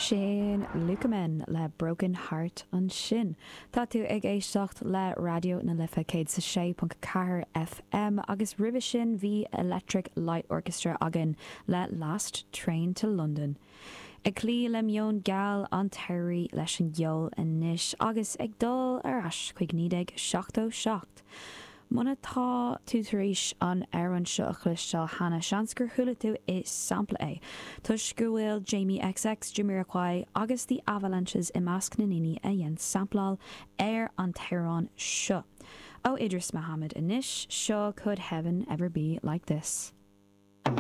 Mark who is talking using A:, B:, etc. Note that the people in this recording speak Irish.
A: Sin Lukamen le Broken Heart ansin. Tá tú ag éisteacht le Raidió na Life 106.4 FM agus roimhe sin bhí Electric Light Orchestra againn le Last Train to London. Ag cloí le meon geal an tsamhraidh leis an gceol anois agus ag dul ar ais chuig 1977. Muna tá tú tar éis an amhrán seo a chloisteáil cheana, seans gur chuala tú i sampla é, toisc go bhfuil Jamie XX, Jamiroquai agus The Avalanches i measc na ndaoine a dhein sampláil ar an t-amhrán seo. Ó Idris Muhammad anois, seo Could Heaven Ever Be Like This?